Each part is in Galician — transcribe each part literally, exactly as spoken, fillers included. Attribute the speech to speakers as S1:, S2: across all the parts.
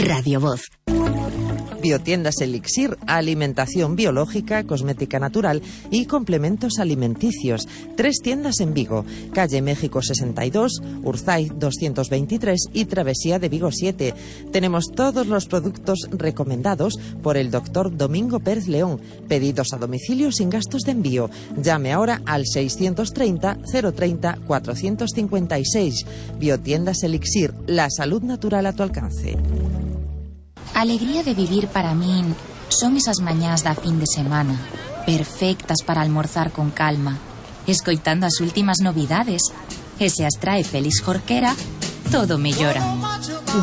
S1: Radio Voz.
S2: Biotiendas Elixir, alimentación biológica, cosmética natural y complementos alimenticios. Tres tiendas en Vigo, calle México sesenta y dos, Urzay doscientos veintitrés y Travesía de Vigo siete. Tenemos todos los productos recomendados por el doctor Domingo Pérez León. Pedidos a domicilio sin gastos de envío. Llame ahora al seiscientos treinta, cero treinta, cuatrocientos cincuenta y seis. Biotiendas Elixir, la salud natural a tu alcance.
S3: A alegría de vivir para min son esas mañás da fin de semana, perfectas para almorzar con calma, escoitando as últimas novidades. E se as trae Félix Jorquera, todo mellora.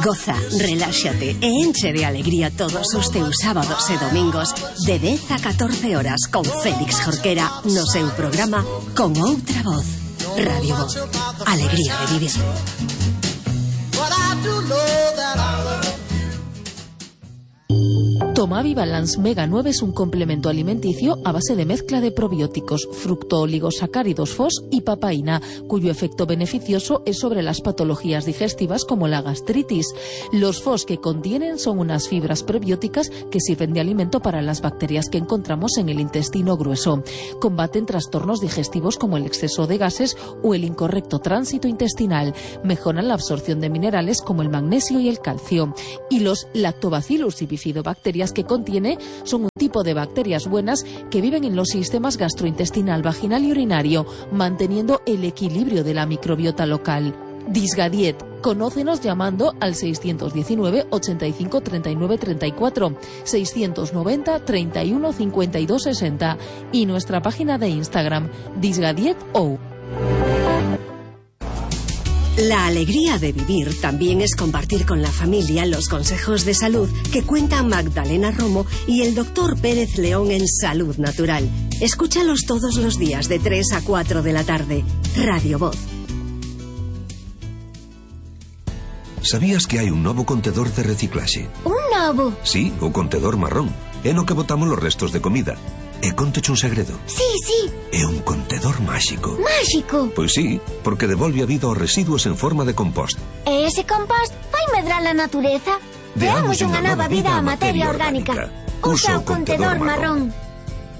S1: Goza, reláxate e enche de alegría todos os teus sábados e domingos de dez a catorce horas con Félix Jorquera no seu programa Con Outra Voz. Radio Voz, alegría de vivir.
S4: Tomavi Balance Mega nueve es un complemento alimenticio a base de mezcla de probióticos, fructooligosacáridos F O S y papaína, cuyo efecto beneficioso es sobre las patologías digestivas como la gastritis. Los F O S que contienen son unas fibras prebióticas que sirven de alimento para las bacterias que encontramos en el intestino grueso. Combaten trastornos digestivos como el exceso de gases o el incorrecto tránsito intestinal. Mejoran la absorción de minerales como el magnesio y el calcio. Y los lactobacillus y bifidobacterias que contiene son un tipo de bacterias buenas que viven en los sistemas gastrointestinal, vaginal y urinario, manteniendo el equilibrio de la microbiota local. Disgadiet. Conócenos llamando al seiscientos diecinueve, ochenta y cinco, treinta y nueve, treinta y cuatro, seiscientos noventa, treinta y uno, cincuenta y dos, sesenta y nuestra página de Instagram, disgadietou.
S1: La alegría de vivir también es compartir con la familia los consejos de salud que cuenta Magdalena Romo y el doctor Pérez León en Salud Natural. Escúchalos todos los días de tres a cuatro de la tarde. Radio Voz.
S5: Sabías que hai un novo contedor de reciclaxe?
S6: Un novo?
S5: Sí, o contedor marrón. É no que botamos los restos de comida. E contoche un segredo.
S6: Sí, sí.
S5: É un contedor máxico.
S6: Máxico?
S5: Pois sí, porque devolve a vida aos residuos en forma de compost.
S6: E ese compost vai medrar a natureza? Deamos unha nova vida á materia orgánica. Usa o contedor marrón.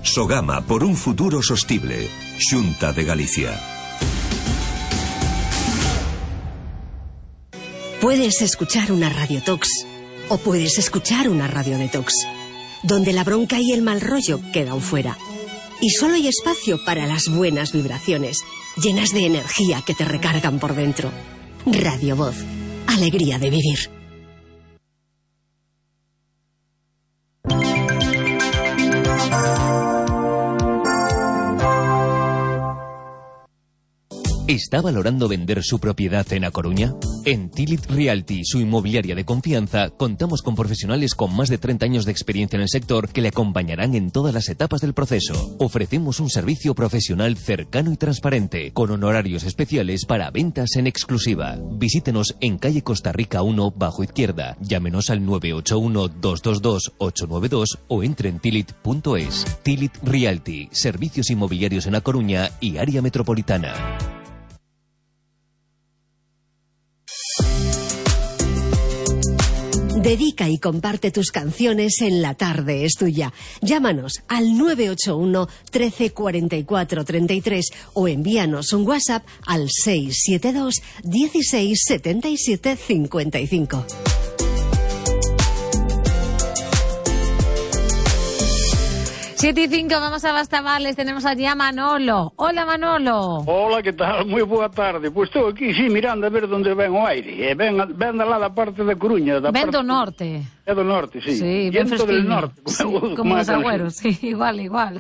S5: Sogama por un futuro sostible. Xunta de Galicia.
S1: Puedes escuchar una radiotox o puedes escuchar una radiodetox, donde la bronca y el mal rollo quedan fuera. Y solo hay espacio para las buenas vibraciones, llenas de energía que te recargan por dentro. Radio Voz, alegría de vivir.
S7: ¿Está valorando vender su propiedad en A Coruña? En Tilit Realty, su inmobiliaria de confianza, contamos con profesionales con más de treinta años de experiencia en el sector que le acompañarán en todas las etapas del proceso. Ofrecemos un servicio profesional cercano y transparente, con honorarios especiales para ventas en exclusiva. Visítenos en calle Costa Rica uno, bajo izquierda. Llámenos al nueve ocho uno, dos dos dos, ocho nueve dos o entre en tilit punto es. Tilit Realty, servicios inmobiliarios en A Coruña y área metropolitana.
S1: Dedica y comparte tus canciones en La Tarde es Tuya. Llámanos al nueve ocho uno, trece, cuarenta y cuatro, treinta y tres o envíanos un WhatsApp al seis siete dos, dieciséis, setenta y siete, cincuenta y cinco.
S8: siete y cinco, vamos a Bastamarles, tenemos allí a Manolo. Hola, Manolo.
S9: Hola, que tal? Moi boa tarde. Pois estou aquí, sí, mirando a ver onde ven o aire. E ven, ven da lá da parte da Coruña. Da
S8: ven
S9: parte...
S8: do norte.
S9: É do norte, sí.
S8: Sí, ben fresquiño.
S9: Del norte.
S8: Sí, como os agüeros, sí, igual, igual.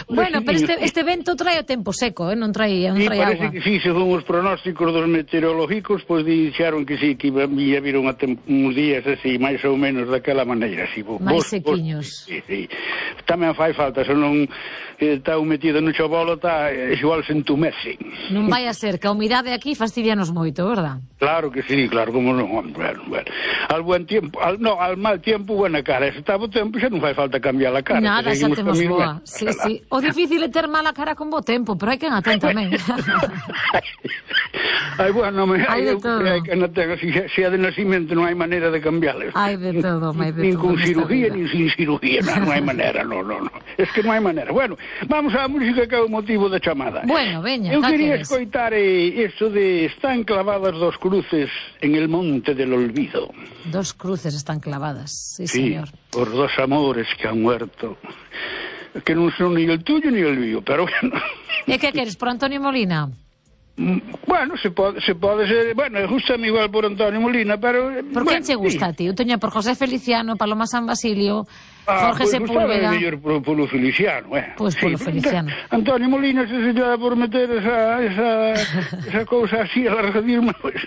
S8: Bueno, pero este, este vento trae o tempo seco, eh? non trae, non
S9: sí,
S8: trae
S9: parece
S8: agua.
S9: Que sí, según os pronósticos dos meteorológicos, pois pues, dixeron que sí, que ia vir uns días así, máis ou menos daquela maneira. Así, vos,
S8: máis
S9: vos,
S8: sequiños.
S9: Vos, sí, sí. tamén fai falta, se non está metido no chabolo, está igual se entumece.
S8: Non vai a ser que a humidade aquí fastidianos moito, verdad?
S9: Claro que sí, claro, como non, bueno, bueno. Al buen tiempo, al, no, al mal tiempo, buena cara. Se está bo tempo, xa non fai falta cambiar a cara.
S8: Nada, xa temos boa. Sí, sí. O difícil é ter mala cara con bo tempo, pero hai que atén tamén.
S9: Ai, bueno, me,
S8: hai de
S9: eu,
S8: todo.
S9: Hai que non ten, se, se é de nacimento non hai maneira de cambiarles.
S8: Hai de todo, hai de todo.
S9: Nin con cirugía, nin sin cirugía, non, non hai maneira, non, non, non. Es que non hai maneira. Bueno, vamos á música que é o motivo da chamada.
S8: Bueno, veña,
S9: eu quería
S8: queres?
S9: escoitar eh, eso de están clavadas dos cruces en el monte del olvido.
S8: Dos cruces están clavadas, sí,
S9: sí
S8: señor.
S9: Por dos amores que han muerto, que non son ni el tuyo ni el mío, pero bueno.
S8: E que queres, por Antonio Molina?
S9: Bueno, se pode, se pode ser, bueno, gustame igual por Antonio Molina, pero...
S8: Por
S9: bueno,
S8: quen che gusta,
S9: sí.
S8: tío? Teña por José Feliciano, Paloma San Basilio,
S9: ah,
S8: Jorge
S9: pues,
S8: Sepúlveda...
S9: Pois mellor polo, polo Feliciano, eh.
S8: Pois pues polo sí, Feliciano.
S9: Antonio Molina, se se lle por meter esa, esa, esa cousa así, alargadismo, pois...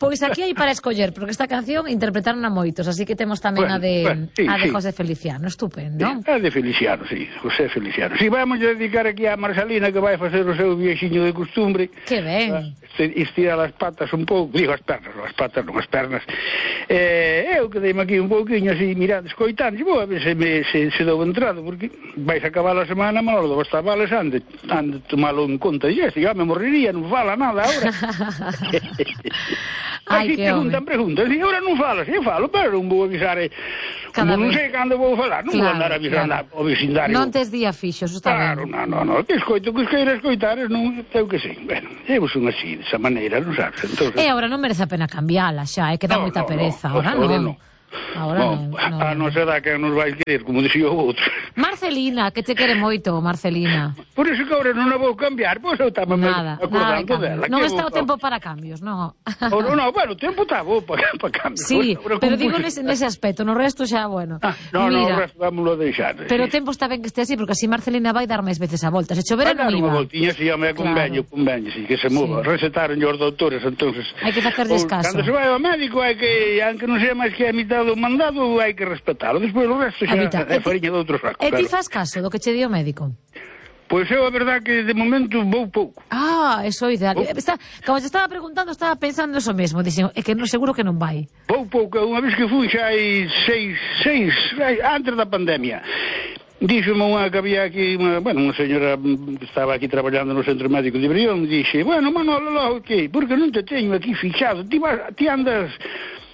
S8: Pois aquí hai para escoller, porque esta canción interpretaron a moitos, así que temos tamén
S9: bueno,
S8: a de,
S9: bueno, sí,
S8: a de
S9: sí.
S8: José Feliciano, estupendo.
S9: Sí, a de Feliciano, sí, José Feliciano. Si, sí, vamos a dedicar aquí a Marcelina, que vai facer o seu viexiño de costumbre.
S8: Que ben.
S9: Estirar as patas un pouco, digo as pernas, as patas non as pernas. Eh, eu quedeime aquí un pouquinho así, mirando, escoitando, e vou a ver se, me, se, se dou entrado, porque vais a acabar a semana, malo do estar vales, ande, ande tomalo en conta, e este, já me morrería, non fala nada agora.
S8: Ai,
S9: así
S8: que
S9: preguntan,
S8: home.
S9: preguntan, e agora non falo, si falo, pero non vou avisar, eh, como non sei cando vou falar, non
S8: claro,
S9: vou andar avisando
S8: claro.
S9: ao vecindario.
S8: Non tes día fixo, eso está
S9: claro,
S8: ben.
S9: non, non, non, que escoito, que esqueira escoitar, non, eu que sei, bueno, eu son así, desa maneira, non sabes, entonces...
S8: E agora non merece a pena cambiala xa, é que dá
S9: No,
S8: moita
S9: no,
S8: pereza,
S9: no,
S8: agora
S9: agora
S8: non.
S9: no.
S8: Agora non.
S9: No,
S8: non.
S9: a non será que nos vais querer, como dixía o outro.
S8: Marcelina, que te quere moito, Marcelina.
S9: Por iso que agora non a vou cambiar, pois eu estaba
S8: Nada, nada de
S9: acordando dela.
S8: Non
S9: que
S8: está o
S9: vou-
S8: tempo para cambios, non.
S9: Oh, no, no, bueno, o tempo está bo para, para cambios.
S8: Sí,
S9: Agora,
S8: pero
S9: como
S8: digo
S9: puse-
S8: nese, nese aspecto, no resto xa, bueno.
S9: Ah, no, no,
S8: Mira,
S9: o resto vámoslo a deixar.
S8: pero o
S9: sí.
S8: tempo está ben que este así, porque así Marcelina vai dar máis veces a volta. Se chovera
S9: Vai dar
S8: non
S9: unha
S8: iba.
S9: voltiña, si, home, convenio, convenio, si, que se mova.
S8: Sí.
S9: Recetaron os doutores, entonces...
S8: Hai que facerlles
S9: Ou,
S8: caso.
S9: Cando se vai ao médico, hai que, aunque non sea máis que a mitad do mandado, hai que respetalo. Despois o resto xa
S8: Habita.
S9: é fariña de outro saco.
S8: E ti
S9: claro.
S8: fas caso do que che di o médico?
S9: Pois eu, a verdad, que de momento vou pouco.
S8: Ah, eso é ideal.
S9: Oh.
S8: Está, como te estaba preguntando, estaba pensando eso mesmo. Dixen, é que non seguro que non vai.
S9: Vou pouco, unha vez que fui xa hai seis, seis, antes da pandemia. Díxome unha que había aquí, unha, bueno, unha señora que estaba aquí traballando no centro médico de Brión, dixe, bueno, Manolo, logo que, porque non te teño aquí fichado, ti, vas, ti andas...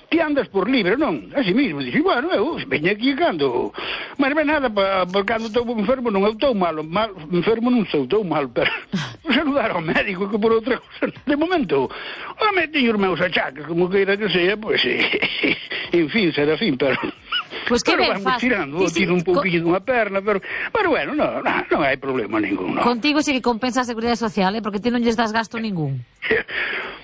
S9: Ti andas por libre, non? Así mismo, dixe, bueno, eu veño aquí cando... Mas ben nada, pa, pa cando estou enfermo non eu estou malo, mal, enfermo non estou, estou mal, pero... Por saludar ao médico que por outra cosa. De momento, home, teño os meus achaques, como queira que sea, pois, pues, en fin, será fin, pero...
S8: Pois que
S9: pero
S8: ben
S9: vamos
S8: faz.
S9: tirando,
S8: Ti si-
S9: tiro un
S8: co-
S9: pouquinho dunha perna, pero... Pero bueno, non, non, non hai problema ningún, non.
S8: Contigo sí que compensa a Seguridade Social, eh? Porque ti non lles das gasto ningún.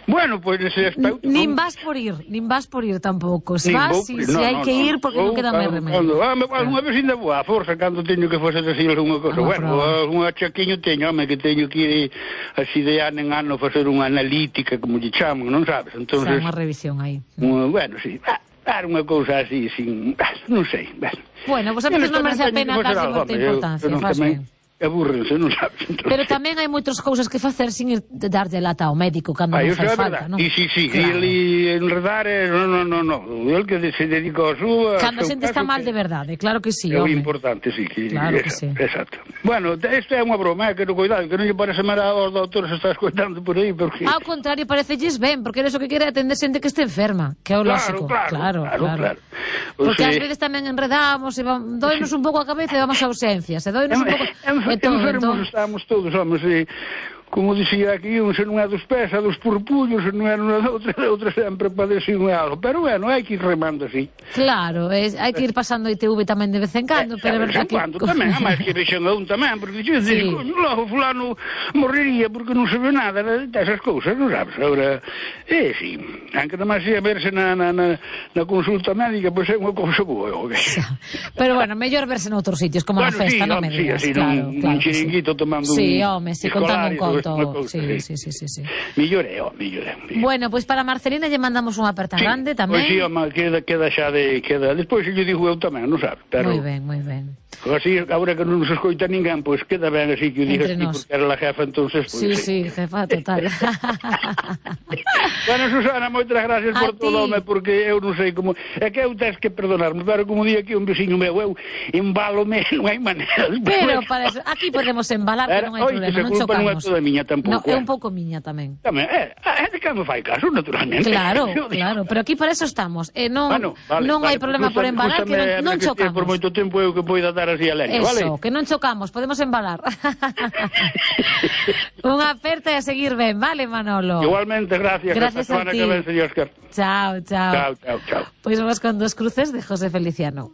S9: Bueno, pois nese aspecto...
S8: Nin
S9: non-
S8: vas por ir, nin vas por ir tampouco. Se
S9: Nin
S8: vas,
S9: vou-
S8: si,
S9: no,
S8: si hai
S9: no,
S8: que
S9: no.
S8: ir, porque non
S9: Vou
S8: queda máis
S9: cando-
S8: remedio.
S9: cando- ah, me- Alguna vez ainda vou á forza, cando teño que facer así alguna cosa.
S8: Ah,
S9: Bueno,
S8: bravo.
S9: un achaquiño teño, home, que teño que ir así de ano en ano facer unha analítica, como lle chaman, non sabes?
S8: O
S9: Entonces,
S8: sea, unha revisión aí.
S9: unha- bueno, sí, ah, dar unha cousa así, sin... ah, non sei, bueno.
S8: Bueno, pues a veces non merece a pena darlle
S9: darlle
S8: moita importancia, faz ben.
S9: Aburrense, non sabes? Entonces,
S8: Pero tamén hai moitas cousas que facer sin ir de darlle lata ao médico cando
S9: Ah,
S8: non
S9: iso
S8: fai
S9: é
S8: falta,
S9: verdad.
S8: non?
S9: E si, si,
S8: Claro.
S9: e enredar, eh, no, no, no, no. El que se dedica ao súa...
S8: Cando a xente está mal de verdade, claro que sí,
S9: É o
S8: home.
S9: importante, sí. Que,
S8: Claro que
S9: exacto,
S8: sí.
S9: Exacto. Bueno, isto é unha broma, eh, que no cuidado, que non lle parece mal aos doutores se está escoitando por aí, porque...
S8: Ao contrario, parecelles ben, porque eres o que quere atender xente que este enferma, que é o
S9: Claro,
S8: lógico.
S9: claro, claro, claro. O
S8: Porque
S9: sea,
S8: ás veces tamén enredamos, e va- doinos un pouco a cabeza e vamos a urxencias, e doinos un pouco...
S9: en-
S8: e todo,
S9: enfermos
S8: entón-
S9: estamos todos, homens, e, como dicía aquí, un se non é dos pés, é dos purpullos, se non é unha outra, outra sempre padece un algo. Pero bueno, hai que ir remando así.
S8: Claro, es, hai que ir pasando I T V tamén de vez en cando, pero é verdad que...
S9: Cando tamén, a máis que vexen a un tamén, porque dixo,
S8: Sí.
S9: sí. logo fulano morrería porque non se ve nada desas cousas, non sabes? Agora, é, sí, aunque nomás ia verse na, na, na, na consulta médica, pois é unha cousa boa, ok?
S8: Pero bueno, mellor verse noutros sitios, como
S9: Bueno,
S8: na festa,
S9: sí,
S8: non
S9: home,
S8: me
S9: sí,
S8: digas,
S9: así,
S8: claro,
S9: nun-
S8: claro
S9: nun
S8: que sí.
S9: chiringuito tomando
S8: Sí,
S9: un
S8: home, sí, contando un
S9: escolar
S8: todo. Sí, sí, sí, sí, sí.
S9: Millore, ó, millore.
S8: Bueno, pois para Marcelina lle mandamos unha aperta
S9: Sí,
S8: grande tamén.
S9: Pois si, home, queda, queda xa de... Queda... Despois lle digo eu tamén, non sabe? Pero...
S8: Moi ben, moi ben.
S9: Así, agora que non nos escoita ninguén, pois queda ben así que o digas ti, porque era la jefa, entonces... Pois,
S8: sí, sí, jefa, total.
S9: Bueno, Susana, moitas gracias por
S8: A
S9: todo,
S8: ti.
S9: home, porque eu non sei como... É que eu tens que perdonarme, pero como di aquí un veciño meu, eu embálome, non hai maneira.
S8: Pero para eso, aquí podemos embalar, que non hai
S9: Oi, que
S8: problema,
S9: esa
S8: non
S9: culpa non é
S8: chocamos.
S9: toda miña tampouco.
S8: No, é
S9: eh.
S8: un pouco miña tamén.
S9: Tamén, é, é de que me fai caso, naturalmente.
S8: Claro,
S9: Eu digo,
S8: claro, pero aquí para eso estamos. Eh, non
S9: Bueno, vale,
S8: non
S9: vale,
S8: hai problema
S9: pues
S8: por embalar, que non,
S9: úsame,
S8: non
S9: que estea
S8: chocamos.
S9: por moito tempo eu que poida dar así a leña,
S8: Eso,
S9: vale?
S8: que non chocamos, podemos embalar. Unha aperta e a seguir ben, vale, Manolo?
S9: Igualmente, gracias.
S8: Gracias
S9: Hasta
S8: a
S9: semana
S8: ti.
S9: que ven, señor Oscar.
S8: Chao, chao.
S9: Chao, chao, chao.
S8: Pois vamos con Dos cruces de José Feliciano.